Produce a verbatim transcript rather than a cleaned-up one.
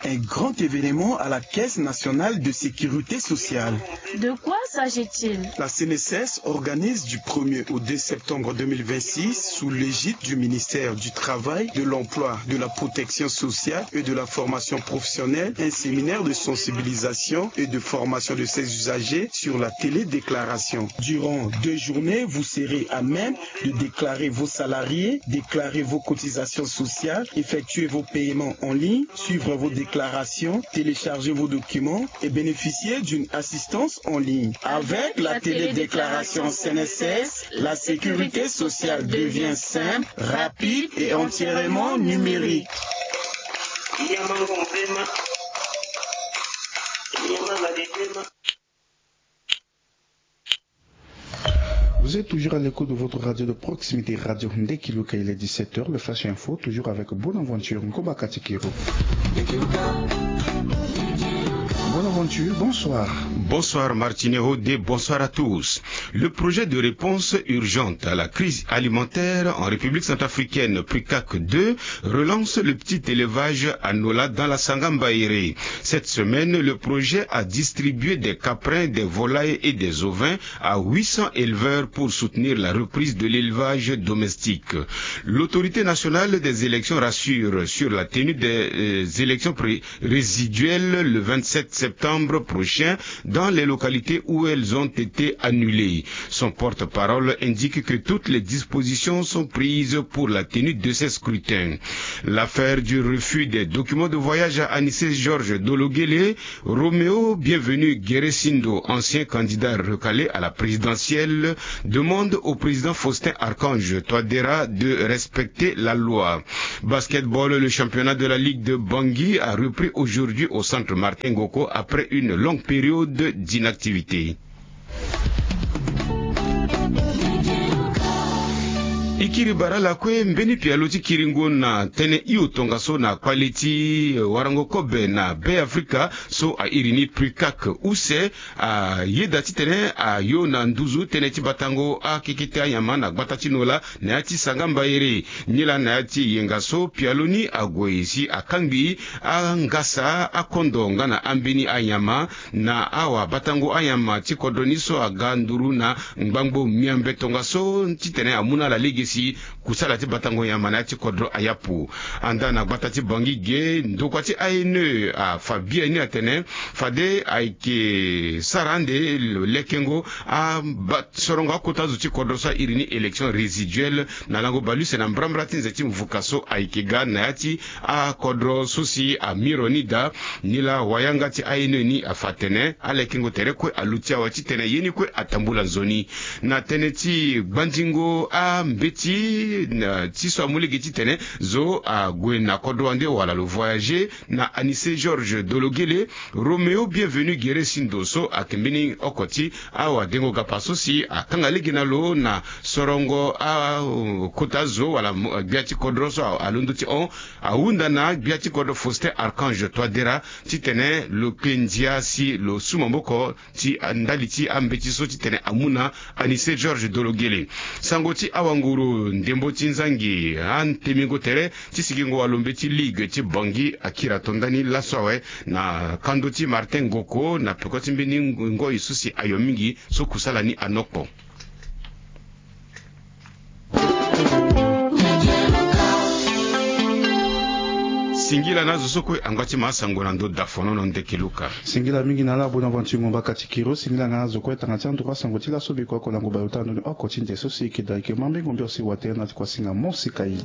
Un grand événement à la Caisse nationale de sécurité sociale. De quoi s'agit-il ? La C N S S organise du premier au deux septembre deux mille vingt-six, sous l'égide du ministère du Travail, de l'Emploi, de la Protection sociale et de la Formation professionnelle, un séminaire de sensibilisation et de formation de ses usagers sur la télédéclaration. Durant deux journées, vous serez à même de déclarer vos salariés, déclarer vos cotisations sociales, effectuer vos paiements en ligne, suivre vos déclarations, télécharger vos documents et bénéficier d'une assistance en ligne. Avec la télédéclaration C N S S, la sécurité sociale devient simple, rapide et entièrement numérique. Vous êtes toujours à l'écoute de votre radio de proximité, Radio Ndekiluka. Il est dix-sept heures, le Flash Info, toujours avec Bonaventure Ngomba Katikiro. Bonaventure, bonsoir. Bonsoir Martine Rodé, bonsoir à tous. Le projet de réponse urgente à la crise alimentaire en République centrafricaine, PRICAC deux, relance le petit élevage à Nola dans la Sangamba Ere. Cette semaine, le projet a distribué des caprins, des volailles et des ovins à huit cents éleveurs pour soutenir la reprise de l'élevage domestique. L'Autorité nationale des élections rassure sur la tenue des euh, élections pré- résiduelles le vingt-sept septembre prochain dans les localités où elles ont été annulées. Son porte-parole indique que toutes les dispositions sont prises pour la tenue de ces scrutins. L'affaire du refus des documents de voyage à Anissé Georges Dologuélé, Roméo Bienvenu Guéresindo, ancien candidat recalé à la présidentielle, demande au président Faustin Archange Touadéra de respecter la loi. Basketball, le championnat de la Ligue de Bangui a repris aujourd'hui au centre Martin Ngoko après une longue période d'inactivité. E kiri bara lakue mbeni pialo ti kiringo na tënë hio tongaso na kpale ti warango kobe na Be Afrika so a iri ni PRICAC use, a yeda titene a yo na nduzu tënë ti batango akekete anyama na gbata ti Nola na ya ti Sangamba Ere. Nilaa na ya ti yenga so pialo ni ague si akangbi angasa akondo nga na ambeni anyama na awabatango anyama ti kodro ni so aga nduru na ngbangbo miambe tongaso titene amu na ala lege si kusala ti batango nyama na ya ti kodro ayapu. Anda na gbata ti Bangui ge, ndokua ti A N E afa biani atene fade ayeke sara ande lo lekengo aba sorongo akota zo ti kodro so a iri ni élection résiduelle na lango baleuse na mbrambra ti nze ti mvuka so ayeke ga na ya ti akodro so si amiro ni daa. Nilaa wayanga ti A N E ni afa atene alekengo tere kue aluti awe titene ye ni kue atambula nzoni. Na tënë ti gbanzingo ambeti na ti so amu lege titene zo ague na kodro wande wala lo voyager na Anissé Georges Dologuélé, Roméo Bienvenu Guéresindo so ayeke mbeni oko ti awadengo gapa so si akanga lege na lo na sorongo akota zo wala gbia ti kodro so alondo ti hon ahunda na gbia ti kodro Faustin Archange Touadéra titene lo kpe ndia si lo su maboko ti ndali ti ambeti so titene amu na Anissé Georges Dologuélé. Sango ti awanguru ndembo ti nzangi antemingo tere ti sigingo walo mbeti ligue ti Bangui akiri ato ndani laso awe na kando ti Martin Ngoko na peko ti mbeni ngoi so si ayo mingi so kusala ni anokpo. Singila na azo so kue angba ti ma asango na ndo dafono na ndeke luka. Singila mingi na ala Bonaventure Ngomba Katikiro. Singila nga na azo kue tanga ti anduru asango ti laso biko oko lango baleota na ndoni oko ti nze so si eke daa eke ma mbengo mbio si watene na ti kuasinga mo si kai.